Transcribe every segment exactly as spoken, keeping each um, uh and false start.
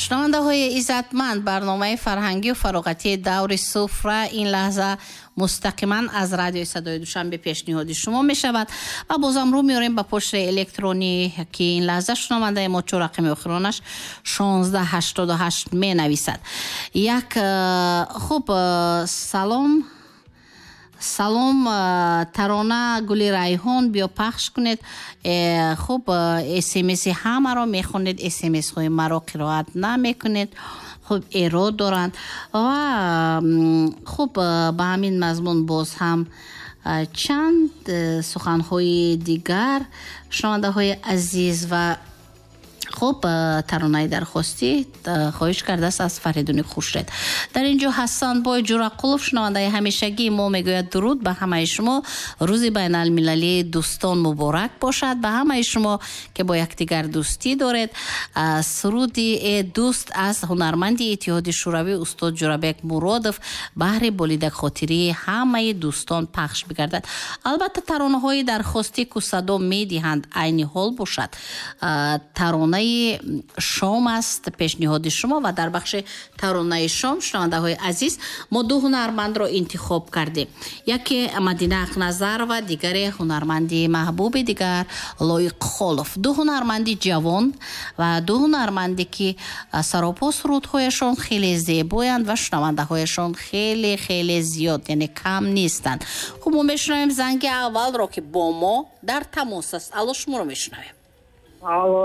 Шунавандаҳои иззатманд, барномаи фарҳангию фароғатии «Даври суфра» ин лаҳза мустақиман аз Радиои Садои Душанбе пешниҳоди шумо мешавад ва бозам рӯ меорем ба почтаи электронӣ, ки ин лаҳза шунавандаи мо чор рақами охиронаш шонздаҳ ҳаштоду ҳашт менависад. Як э, хуб, э, салом, салом, э, тарона «Гули райҳон» биё пахш кунед. Хуб, смси ҳамаро мехонед, смсҳои маро қироат намекунед. Хуб, эрод доранд ва хуб, ба ҳамин мазмун боз ҳам чанд суханҳои дигар, шунавандаҳои азиз. Ва хуб, таронаи дархостӣ хоҳиш кардааст аз Фаридуни Хуршед. Дар ин ҷо Ҳасанбой Ҷурақулов, шунавандаи ҳамешагии мо, мегӯяд: «Дуруд ба ҳамаи шумо, рӯзи байналмилалии дӯстон муборак бошад ба ҳамаи шумо, ки бо якдигар дӯстӣ доред. Суруди «Э дӯст» аз ҳунарманди Иттиҳоди Шӯравӣ устод Ҷурабек Муродов баҳри болидакхотирии ҳамаи дӯстон пахш бигардад». Албатта, таронаҳои дархостӣ ку садо медиҳанд, айни ҳол бошад, таронаи шом аст пешниҳоди шумо. Ва дар бахши таронаи шом, шунавандаҳои азиз, мо ду ҳунармандро интихоб кардем: яке Мадина Ақназарова, дигаре ҳунарманди маҳбуби дигар Лоиқ Холов. Ду ҳунарманди ҷавон ва ду ҳунарманде, ки саропо сурудҳояшон хеле зебоянд ва шунавандаҳояшон хеле хеле зиёд, яъне кам нестанд. Хуб, мо мешунавем занги аввалро, ки бо мо дар тамос аст. Алло, шуморо мешунавем. Алло.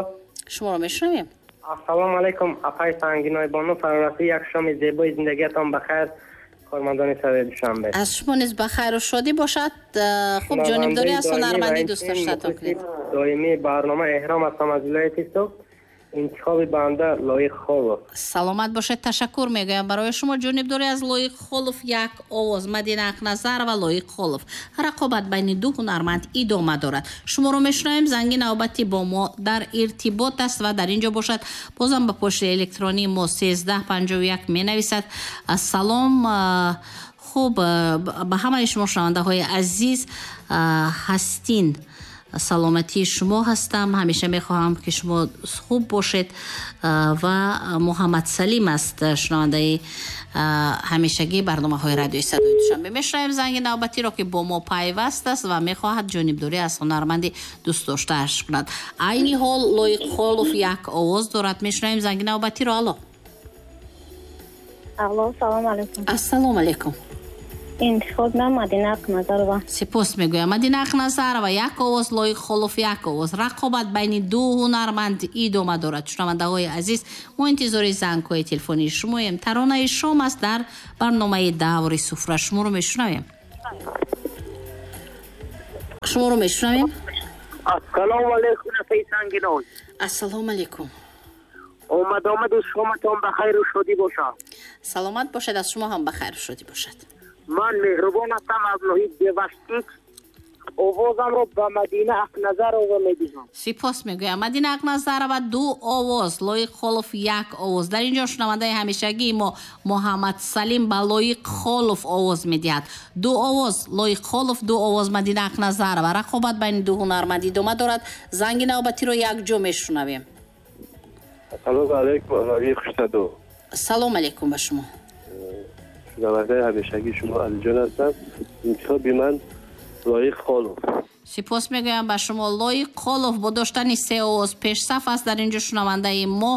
Шуморо мешунавем. Ассалому алайкум, апаи Сангиной бону, фарорасии як шоми зебои зиндагиятон ба хайр, кормандони Садои Душанбе. Аз шумо низ ба хайру шодӣ бошад. Хуб, ҷонибдорӣ аз ҳунарманди дӯстдоштатон кунед. Доимии барнома Эҳром ҳастам аз вилояти Суғд. Интихоби банда Лоиқ Холов. Саломат бошед, ташаккур мегӯям барои шумо. Ҷонибдорӣ аз Лоиқ Холов, як овоз. Мадина Ақназарова, Лоиқ Холов, рақобат байни ду ҳунарманд идома дорад. Шуморо мешунавем. Занги навбатӣ бо мо дар иртибот аст ва дар ин ҷо бошад, бозам ба почтаи электронии мо сездаҳ панҷоҳу як менависад: «Салом, хуб, ба ҳамаи шумо шунавандаҳои азиз ҳастин, саломатии шумо ҳастам, ҳамеша мехоҳам, ки шумо хуб бошед». Ва Муҳаммад Салим аст, шунавандаи ҳамешагии барномаҳои Радиои Садои Душанбе. Мешунавем занги навбатиро, ки бо мо пайваст аст ва мехоҳад ҷонибдорӣ аз ҳунарманди дӯстдоштааш кунад. Айни ҳол Лоиқ Холов як овоз дорад. Мешунавем занги навбатиро. Алло. Алло, салом алейкум. Ассалому алейкум. Интихоб ман Мадина Ақназарова. Сипос мегӯям. Мадина Ақназарова як овоз, Лоиқ Холов як овоз. Рақобат байни ду ҳунарманд идома дорад. Шунавандаҳои азиз, мо интизори зангҳои телефонии шумоем. Таронаи шом аст дар барномаи «Даври суфра». Шуморо мешунавем, шуморо мешунавем. Ассалому алайкум, апаи Сангиной. Ассалому алайкум. Омад омаду шоматон ба хайру шодӣ бошад. Саломат бошед, аз шумо ҳам ба хайру шодӣ бошад. Ман Меҳрубон ҳастам аз ноҳияи Деваштик. Овозамро ба Мадина Ақназарова медиҳам. Сипос мегӯям. Мадина Ақназарова ду овоз, Лоиқ Холов як овоз. Дар ин ҷо шунавандаи ҳамешагии мо Муҳаммад Салим ба Лоиқ Холов овоз медиҳад. Ду овоз Лоиқ Холов, ду овоз Мадина Ақназарова. Рақобат байни ду ҳунарманд идома дорад. Занги навбатиро якҷо мешунавем. Ассалому алайкум, аҳолии хушсадо. Салом алайкум ба шумо. Шунавандаи ҳамешагии шумо Алиҷон ҳастам. Интихоби ман Лоиқ Холов. Сипос мегӯям ба шумо. Лоиқ Холов бо доштани се овоз пешсаф аст. Дар ин ҷо шунавандаи мо,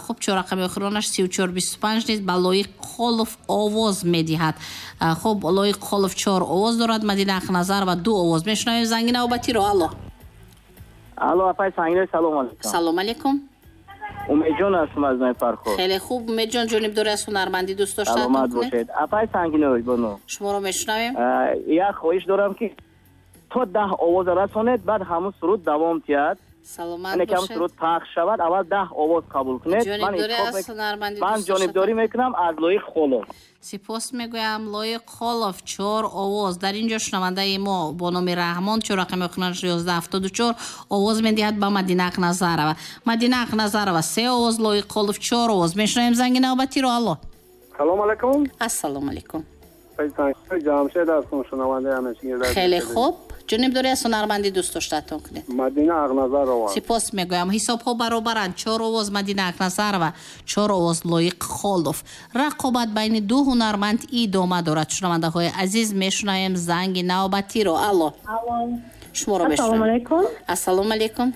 хуб, чоррақами охиронаш сию чор бисту панҷ низ ба Лоиқ Холов овоз медиҳад. Хуб, Лоиқ Холов чор овоз дорад, Мадина Ақназарова ду овоз. Мешунавем занги навбатиро. Алло. Алло, апаи Сангиной, салом алейкум. Салом алейкум. Умедҷон ҳастам аз ноҳияи Фархор. Хеле хуб, Умедҷон, ҷонибдорӣ аз ҳунармандӣ дӯст доштаатон Саломат бошед. Апаи Сангиной бону. Шуморо мешунавем. Як хоҳиш дорам, ки то даҳ овоза расонед, баъд ҳамун суруд давом тиҳад. Саломат Яъне ки ҳамун бошед. суруд пахш шавад, аввал даҳ овоз қабул кунед. Ман Ҷонибдорӣ интихоб аз мек- ҳунармандӣ ман дӯст ҷонибдорӣ доштатон. мекунам аз Лоиқ Холов. Сипос мегӯям. Лоиқ Холов чор овоз. Дар ин ҷо шунавандаи мо бо номи Раҳмон, чор рақами охиронаш ёздаҳ ҳафтоду чор, овоз медиҳад ба Мадина Ақназарова. Мадина Ақназарова се овоз, Лоиқ Холов чор овоз. Мешунавем занги навбатиро. Алло. Салом алайкум. Ассалому алайкум. Ҷамшед ҳастам, шунавандаи ҳамешагии радио. Хеле хуб, Ҷонибдорӣ аз ҳунарманди дӯст доштаатон кунед. Мадина Ақназарова. Сипос мегӯям. Ҳисобҳо баробаранд. Чор овоз Мадина Ақназарова, чор овоз Лоиқ Холов. Рақобат байни ду ҳунарманд идома дорад. Шунавандаҳои азиз, мешунавем занги навбатиро. Алло. Шуморо мешунавем. Ассалому алайкум.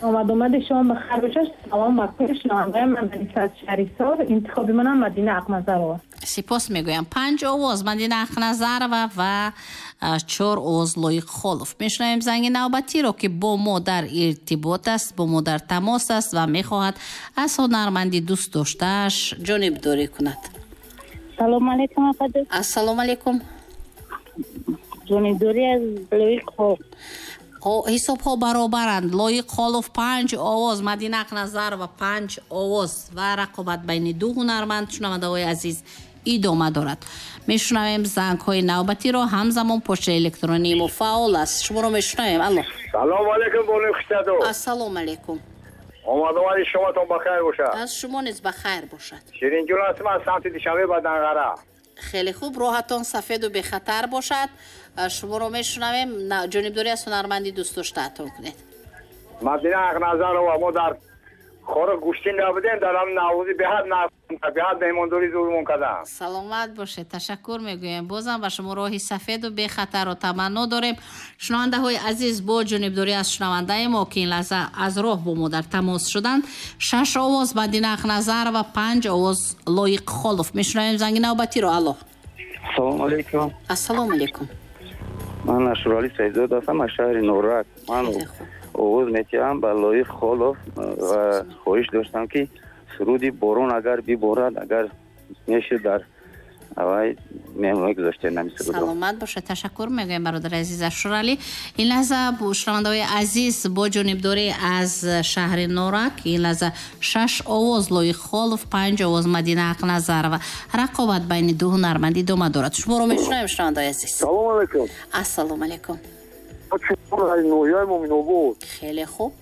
Омад омади шумо ба хайр бошад. Салом ба кулли шунавандаи ман аз шаҳри Ҳисор. Интихоби манам Мадина Ақназарова. Сипос мегӯям. Панҷ овоз Мадина Ақназарова ва чор овоз Лоиқ Холов. Мешунавем занги навбатиро, ки бо мо дар иртибот аст, бо мо дар тамос аст ва мехоҳад аз ҳунарманди дӯст доштааш ҷонибдорӣ кунад. Салому алайкум, апаҷон. Ассалому алайкум. Ҷонибдорӣ аз Лоиқ Холов. Ҳисобҳо баробаранд. Лоиқ Холов панҷ овоз, Мадина Ақназарова панҷ овоз ва рақобат байни ду ҳунарманд, шунавандаҳои азиз, идома дорад. Мешунавем зангҳои навбатиро. Ҳамзамон почтаи электронии мо фаъол аст. Шуморо мешунавем. Алло. Салому алайкум, бону Хушсадо. Ассалому алайкум. Омад омади шумотон ба хайр бошад. Аз шумо низ ба хайр бошад. Ширинҷон ҳастам аз самти Душанбе ба Данғара. Хеле хуб, роҳатон сафеду бехатар бошад. Шуморо мешунавем. Ҷонибдорӣ аз ҳунарманди дӯст доштаатон кунед. Мадина Ақназарова. Мо дар хоро гӯштин набудем, дар ҳам наврӯзӣ беҳад беҳад меҳмондорӣ зурмон кардам. Саломат бошед, ташаккур мегӯем. Бозам ба шумо роҳи сафеду бехатарро таманно дорем. Шунавандаҳои азиз, бо ҷонибдорӣ аз шунавандаи мо, ки ин лаҳза аз роҳ бо мо дар тамос шуданд, шаш овоз Мадина Ақназарова, панҷ овоз Лоиқ Холов. Мешунавем занги навбатиро. Алло. Ассалому алайкум. Ассалому алайкум. Ман Ашурали Саидзода ҳастам аз шаҳри Норак. Ман овоз метиҳам ба Лоиқ Холов ва хоҳиш доштам, ки суруди борон агар биборад, агар мешуд дар авай меҳмонӣ гузоштем ҳамин сурудро. Саломат бошед, ташаккур мегӯем, бародари азиз Ашурали. Ин лаҳза шунавандаҳои азиз, бо ҷонибдорӣ аз шаҳри Норак, ин лаҳза шаш овоз Лоиқ Холов, панҷ овоз Мадина Ақназарова. Рақобат байни ду ҳунарманд идома дорад. Шуморо мешунавем, шунавандаҳои азиз. Салому алайкум. Ассалому алайкум. Ноҳияи Муминобод. Хеле хуб.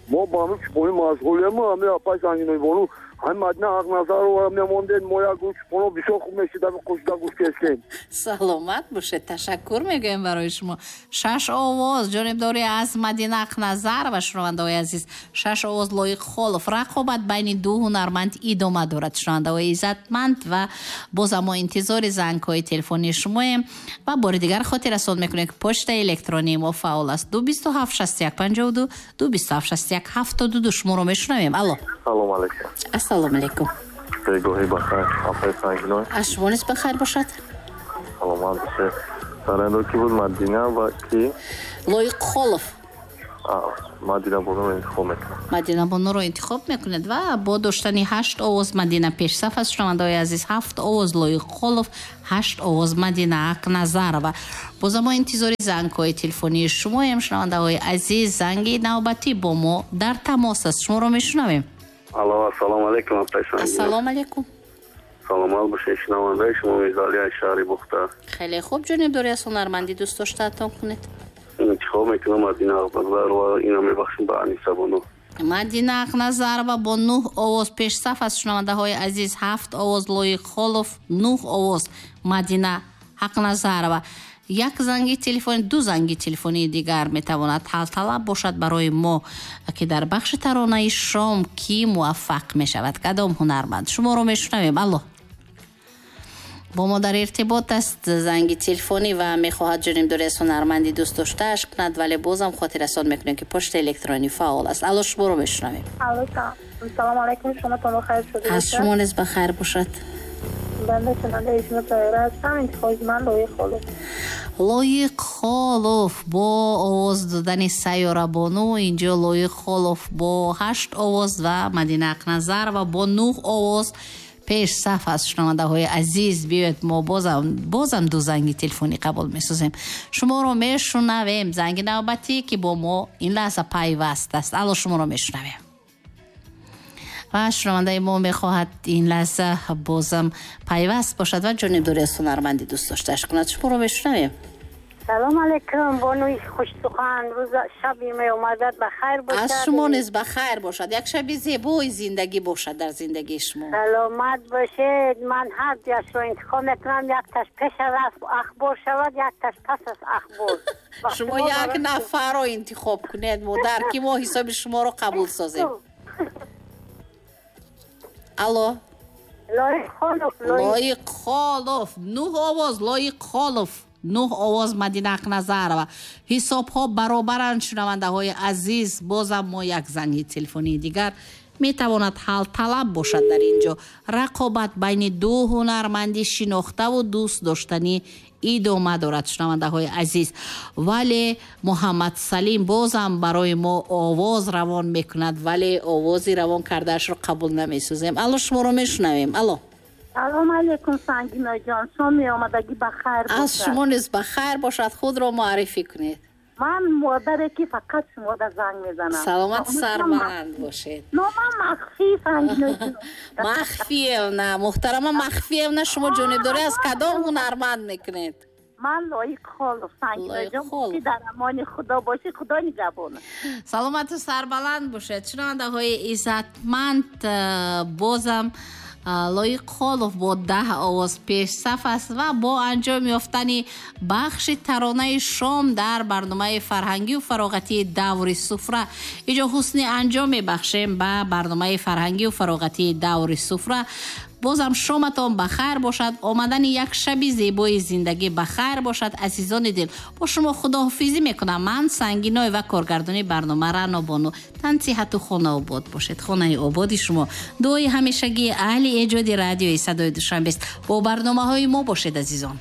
Мо ба ҳамин чӯпонӣ машғулем. Ҳамин апаи Сангиноибону, ҳамин Мадина Ақназарова мемондем. Мо як гӯш чӯпоно бисёр хуб мешид, ҳамин қӯшида гӯш кестем. Саломат бошед, ташаккур мегӯем барои шумо. Шаш овоз ҷонибдорӣ аз Мадина Ақназарова, шунавандаҳои азиз, шаш овоз Лоиқ Холов. Рақобат байни ду ҳунарманд идома дорад, шунавандаҳои иззатманд, ва бозам мо интизори зангҳои телефонии шумоем ва бори дигар хотиррасон мекунем, ки почтаи электронии мо фаъол аст. Ду бисту ҳафт шасту як панҷоҳу ду, ду бисту ҳафт шасту як ҳафтоду ду. Шуморо мешунавем. Алло. Салому алайкум. Ассалому алайкум. Бегоҳӣ бахайр, апаи Сангиной. Аз шумо низ бахайр бошад. Саломат бошед. Сарандо ки буд Мадина ва ки? Лоиқ Холов. Мадина Бонуро интихоб мекунам. Мадина Бонуро интихоб мекунед ва бо доштани ҳашт овоз Мадина пешсаф аст. Шунавандаҳои азиз, ҳафт овоз Лоиқ Холов, ҳашт овоз Мадина Ақназарова. Бозам мо интизори зангҳои телефонии шумоем, шунавандаҳои азиз. Занги навбатӣ бо мо дар тамос аст. Шуморо мешунавем. Алло, ассалому алайкум, апаи Сангина. Ассалому алайкум. Саломат бошед, шунавандаи шумо Мирзалӣ аз шаҳри Бухта. Хеле хуб, ҷонибдорӣ аз ҳунарманди дӯст доштаатон кунед. Интихоб мекунам Мадина Ақназарова, инро мебахшам ба Аниса Бону. Мадина Ақназарова бо нӯҳ овоз пешсаф аст, шунавандаҳои азиз. Ҳафт овоз Лоиқ Холов, нӯҳ овоз Мадина Ақназарова. Як занги телефонӣ, ду занги телефонии дигар метавонад ҳалталаб бошад барои мо, ки дар бахши таронаи шом кӣ муваффақ мешавад, кадом ҳунарманд. Шуморо мешунавем. Алло. Бо мо дар иртибот аст занги телефонӣ ва мехоҳад ҷонибдорӣ аз ҳунарманди дӯст доштааш кунад, вале бозам хотиррасон мекунем, ки почтаи электронӣ фаъол аст. Алло, шуморо мешунавем. Алло, салому алайкум, шумотон бахайр шуда бошад. Аз шумо низ бахайр бошад. Банда шунавандаи шумо Тоира ҳастам. Интихоби ман Лоиқ Холов. Лоиқ Холов бо овоз додани Сайёра Бону. Инҷо Лоиқ Холов бо ҳашт овоз ва Мадина Ақназарова бо нӯҳ овоз пешсаф аст. Шунавандаҳои азиз, биёед мо бозам бозам ду занги телефонӣ қабул месозем. Шуморо мешунавем. Занги навбатӣ, ки бо мо ин лаҳза пайваст аст. Алло, шуморо мешунавем. Ва шунавандаи мо мехоҳад ин лаҳза бозам пайваст бошад ва ҷонибдорӣ аз ҳунарманди дӯст доштааш кунад. Шуморо мешунавем. Салом алейкум, бонуи хушсухан. Рӯз шаби меомадат ба хайр бошад. Аз шумо низ ба хайр бошад. Як шаби зебои зиндагӣ бошад дар зиндагии шумо. Саломат бошед. Ман ҳар дуяшро интихоб мекунам. Якташ пеш аз ахбор шавад, якташ пас аз ахбор. Шумо як нафарро интихоб кунед, модар, ки мо ҳисоби шуморо қабул созем. Алло. Лоиқ Холов. Лоиқ Холов. Нӯҳ овоз Лоиқ Холов. Нӯҳ овоз Мадина Ақназарова. Ҳисобҳо баробаранд, шунавандаҳои азиз. Бозам мо як занги телефонии дигар метавонад ҳалталаб бошад дар ин ҷо. Рақобат байни ду ҳунарманди шинохтаву дӯст доштанӣ идома дорад, шунавандаҳои азиз. Вале Муҳаммад Салим бозам барои мо овоз равон мекунад, вале овози равон кардаашро қабул намесозем. Алло, шуморо мешунавем. Алло. Салом алейкум, Сангиноҷон. Шоми омадагӣ ба хайр бошад. Аз шумо низ ба хайр бошад. Худро муаррифӣ кунед. Ман модаре ки фақат шумода занг мезанам. Саломат, сарбаланд бошед. Номам Махфӣ, Сангиноҷон. Махфиевна, муҳтарама Махфиевна, шумо ҷонибдорӣ аз кадом ҳунарманд мекунед? Ман Лоиқ Холов, Сангиноҷон. Ки дар амони Худо бошӣ, Худо нигаҳбон. Саломату сарбаланд бошед. Шунавандаҳои иззатманд, бозам Лоиқ Холов бо даҳ овоз пешсаф аст ва бо анҷом ёфтани бахши таронаи шом дар барномаи фарҳангию фароғатии даври суфра инҷо ҳусни анҷом мебахшем ба барномаи фарҳангию фароғатии даври суфра. Бозам шоматон ба хайр бошад, омадани як шаби зебои зиндагӣ ба хайр бошад. Азизони дил, бо шумо худоҳофизӣ мекунам. Ман Сангиной ва коргардони барнома Рано Бону. Тансиҳату хонаобод бошед. Хонаи ободи шумо дуои ҳамешагии аҳли эҷоди радиои садои Душанбест. Бо барномаҳои мо бошед, азизон.